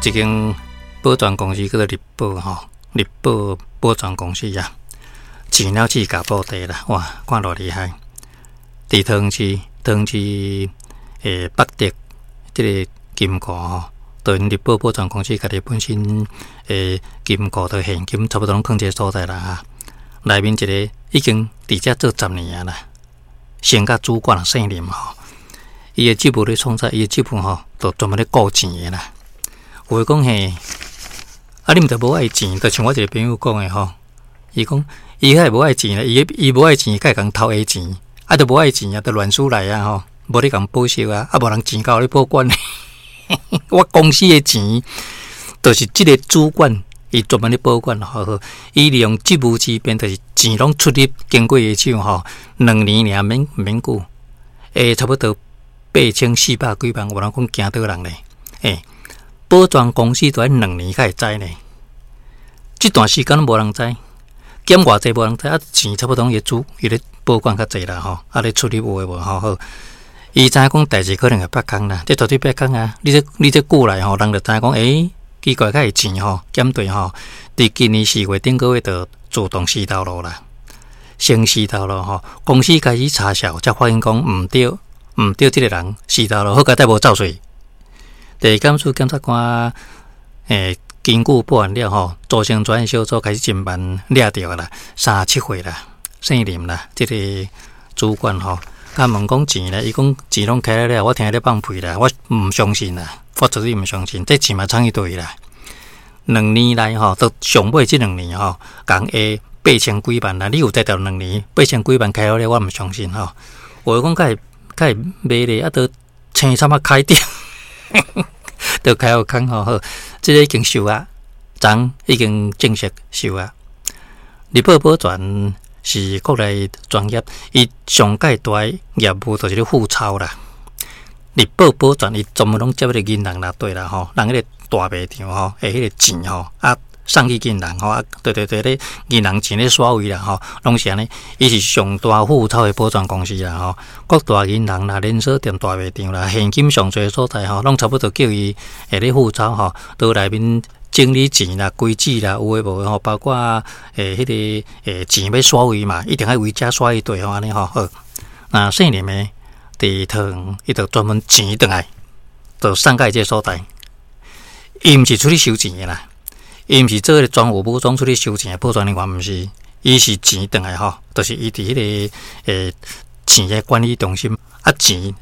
一間保全公司叫做日寶吼，日寶保全公司啊，錢了試共布袋啦，哇，看偌厲害！佇桃園市，桃園市北德這个金庫吼，就𪜶日寶保全公司家己本身金庫的現金差不多攏囥這个所在啦哈。內面一个已經佇遮做10年啊啦，升甲主管姓林吼，伊的職務咧創啥？伊的職務吼，就專門咧顧錢的啦。有的講嘿，啊，你毋著無愛錢，就像我一个朋友講的吼，伊講伊較會無愛錢啦，伊伊無愛錢，較會共偷下錢，啊，著無愛錢啊，著亂輸來啊吼，無咧共報銷啊，啊，無人錢交你保管。我公司的錢，就是這个主管伊專門咧保管，好好，伊利用職務之便，就是錢攏出入經過伊手吼，2年爾免免久，差不多8400幾萬，有人講驚倒人咧，保全公司都愛兩年才會知呢，這段時間攏無人知，減偌濟無人知，啊錢差不多伊主伊咧保管較濟啦吼，啊咧出入有的無吼好，伊知影講代誌可能會曝光啦，這絕對曝光啊！你這久來吼，人就知影講，奇怪，較會錢吼減對吼，佇今年4月頂個月就自動死頭路啦，先死頭路吼，公司開始查數，才發現講毋對，毋對，這个人死頭路，好佳哉無走稅。地檢署檢察官根據報案了吼，組成專案小組開始偵辦，掠著啦，37歲啦，姓林啦，這个主管吼，共問講錢咧，伊講錢攏開了，我聽咧放屁啦，我毋相信啦，我絕對毋相信，這錢嘛藏去佗位啦。兩年來吼，到上尾這兩年吼，共下八千幾萬啦，你有才調兩年八千幾萬開好了，我毋相信吼。有的講較會較會賣咧，啊，都青參仔開掉。就開好空吼好，這个已經收啊，昨已經正式收啊。日寶保全是國內專業，伊上蓋大業務就是咧付鈔啦。日寶保全伊專門攏接彼個銀行啦，對啦吼，人彼個大賣場吼，彼个錢吼啊送去銀行吼啊，對對對咧，銀行錢咧刷位啦吼，攏是按呢。伊是上大付鈔的保全公司啦吼，各大銀行啦、連鎖店、大賣場啦，現金上濟所在吼，攏差不多叫伊會咧付鈔吼，都內面整理錢啦、規矩啦，有的無的吼，包括彼个錢欲刷位嘛，一定愛為遮刷一對吼，按呢吼好。那姓林的佇桃園，伊就專門錢轉來，就送到伊這个所在。伊毋是出去收錢的啦。伊毋是做彼個專務武裝出去收錢的保全人員，毋是，伊是錢轉來吼，就是伊佇彼个錢的管理中心，啊錢